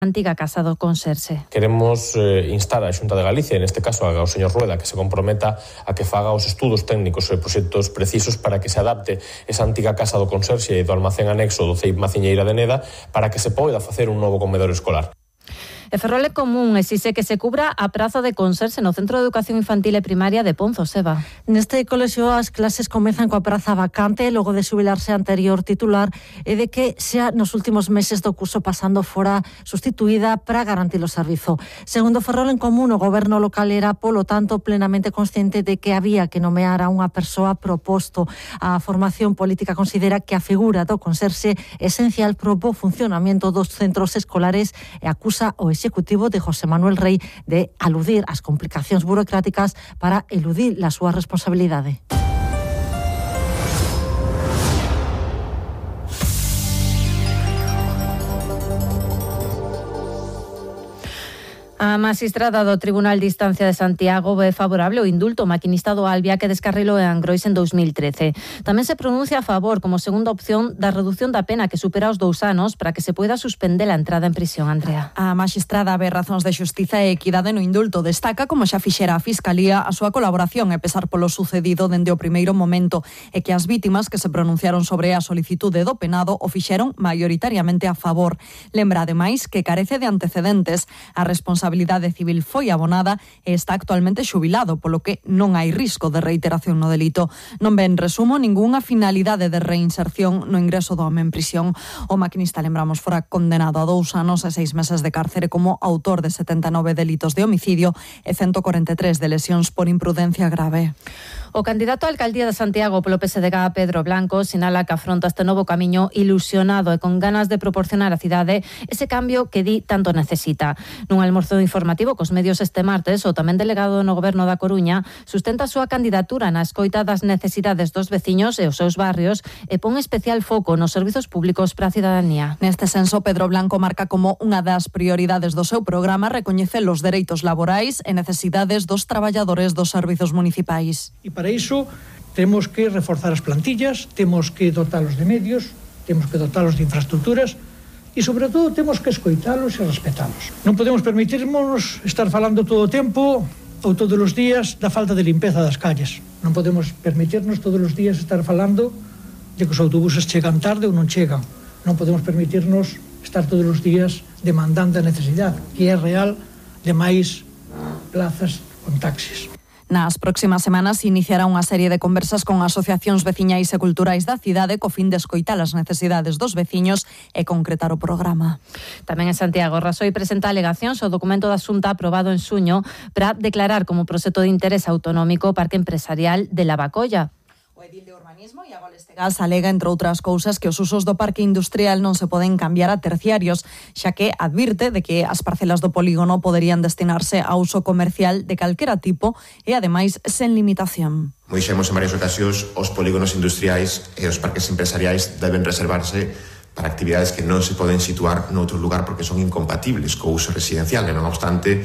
antiga Casa do Conserxe. Queremos instar a Xunta de Galicia, en este caso ao señor Rueda, que se comprometa a que faga os estudos técnicos e proxectos precisos para que se adapte esa antiga Casa do Conserxe e do almacén anexo do CEIP Maciñeira de Neda para que se poida facer un novo comedor escolar. E Ferrol é común exixe que se cubra a praza de Conserxe no Centro de Educación Infantil e Primaria de Ponzo, Seba. Neste colexio as clases comezan coa praza vacante logo de xubilarse a anterior titular e de que xa nos últimos meses do curso pasando fora sustituída para garantir o servizo. Segundo Ferrol en Común, o goberno local era, polo tanto, plenamente consciente de que había que nomear a unha persoa proposto. A formación política considera que a figura do Conserxe é esencial para o bo funcionamento dos centros escolares e acusa o Executivo de José Manuel Rey de aludir ás complicacións burocráticas para eludir a súa responsabilidade. A magistrada do Tribunal de Instancia de Santiago ve favorable o indulto maquinista do Albia que descarrilou en Angrois en 2013. Tamén se pronuncia a favor, como segunda opción, da reducción da pena que supera os 2 anos para que se poida suspender a entrada en prisión, Andrea. A magistrada ve razóns de xustiza e equidade no indulto. Destaca, como xa fixera a Fiscalía, a súa colaboración e pesar polo sucedido dende o primeiro momento e que as vítimas que se pronunciaron sobre a solicitude do penado o fixeron maioritariamente a favor. Lembra, ademais, que carece de antecedentes. A responsabilidade civil foi abonada e está actualmente xubilado, polo que non hai risco de reiteración no delito. Non ve, en resumo, ningunha finalidade de reinserción no ingreso do home en prisión. O maquinista, lembramos, fora condenado a 2 anos e 6 meses de cárcere como autor de 79 delitos de homicidio e 143 de lesións por imprudencia grave. O candidato a alcaldía de Santiago polo PSDG, Pedro Blanco, sinala que afronta este novo camiño ilusionado e con ganas de proporcionar á cidade ese cambio que di tanto necesita. Nun almorzo informativo cos medios este martes, o tamén delegado no Goberno da Coruña sustenta a súa candidatura na escoita das necesidades dos veciños e os seus barrios e pon especial foco nos servizos públicos para a cidadanía. Neste senso, Pedro Blanco marca como unha das prioridades do seu programa recoñecer os dereitos laborais e necesidades dos traballadores dos servizos municipais. E para iso temos que reforzar as plantillas, temos que dotalos de medios, temos que dotalos de infraestructuras e, sobre todo, temos que escoitalos e respetalos. Non podemos permitirnos estar falando todo o tempo ou todos os días da falta de limpeza das calles. Non podemos permitirnos todos os días estar falando de que os autobuses chegan tarde ou non chegan. Non podemos permitirnos estar todos os días demandando a necesidade, que é real, de máis plazas con taxis. Nas próximas semanas iniciará unha serie de conversas con asociacións veciñais e culturais da cidade co fin de escoitar as necesidades dos veciños e concretar o programa. Tamén en Santiago, Rasoy presenta alegacións ao documento da Xunta aprobado en xuño para declarar como proxecto de interés autonómico o Parque Empresarial de Lavacolla. O edil de Urbanismo, Iago Lestegas, alega, entre outras cousas, que os usos do parque industrial non se poden cambiar a terciarios, xa que advirte de que as parcelas do polígono poderían destinarse a uso comercial de calquera tipo e, ademais, sen limitación. Como dixemos en varias ocasións, os polígonos industriais e os parques empresariais deben reservarse para actividades que non se poden situar noutro lugar porque son incompatibles co uso residencial. E non obstante,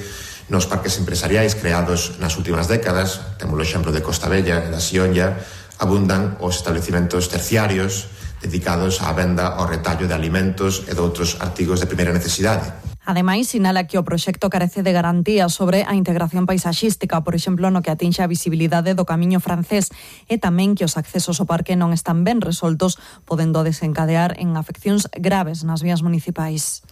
nos parques empresariais creados nas últimas décadas, temos o exemplo de Costa Bella e da Sionlla, abundan os establecimentos terciarios dedicados á venda ao retallo de alimentos e de outros artigos de primeira necesidade. Ademais, sinala que o proxecto carece de garantías sobre a integración paisaxística, por exemplo, no que atinxe a visibilidade do camiño francés, e tamén que os accesos ao parque non están ben resoltos, podendo desencadear en afeccións graves nas vías municipais.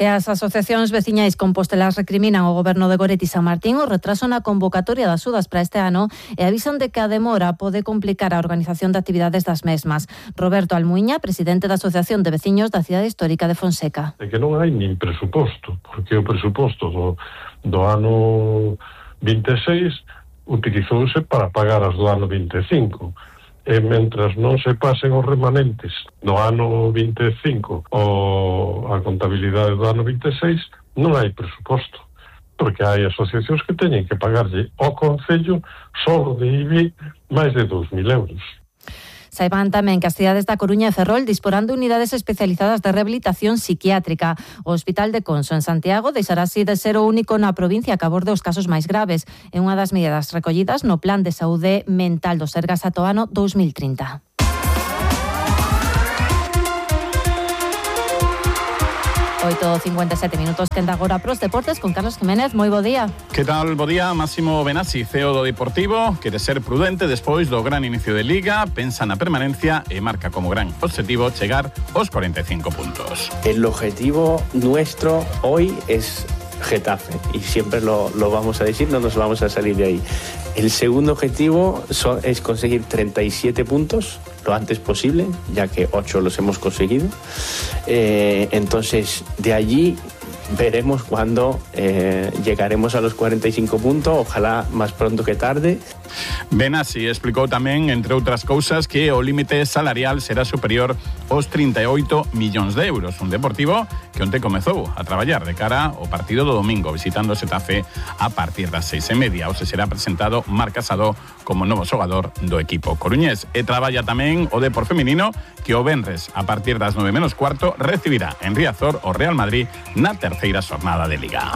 E as asociacións veciñais compostelas recriminan ao goberno de Goretti e San Martín o retraso na convocatoria das sudas para este ano e avisan de que a demora pode complicar a organización de actividades das mesmas. Roberto Almuiña, presidente da Asociación de Veciños da Cidade Histórica de Fonseca. É que non hai nin presuposto, porque o presuposto do ano 26 utilizouse para pagar as do ano 25. E mentras non se pasen os remanentes do ano 25 ou a contabilidade do ano 26, non hai presuposto, porque hai asociacións que teñen que pagarlle ao Concello só de IBI máis de 2.000 euros. Saiban tamén que as cidades da Coruña e Ferrol disporán de unidades especializadas de rehabilitación psiquiátrica. O Hospital de Conso en Santiago deixará así de ser o único na provincia que aborde os casos máis graves. É unha das medidas recollidas no Plan de Saúde Mental do Sergas ata o ano 2030. 8 8:57 minutos, quenda agora pros deportes con Carlos Jiménez. Moi bo día. Que tal? Bo día, Máximo Benassi, CEO do Deportivo, quere ser prudente despois do gran inicio de Liga, pensa na permanencia e marca como gran objetivo chegar aos 45 puntos. El objetivo nuestro hoy es Getafe y siempre lo vamos a decir, no nos vamos a salir de ahí. El segundo objetivo es conseguir 37 puntos lo antes posible, ya que 8 los hemos conseguido. Entonces, de allí veremos cuándo llegaremos a los 45 puntos, ojalá más pronto que tarde. Benassi explicou tamén, entre outras cousas, que o límite salarial será superior aos 38 millóns de euros. Un Deportivo que onte comezou a traballar de cara ao partido do domingo, visitando o Xetafe a partir das 6:30. Hoxe será presentado Marc Casado como novo xogador do equipo coruñés. E traballa tamén o Depor feminino, que o venres, a partir das 9:15, recibirá en Riazor o Real Madrid na terceira xornada de Liga.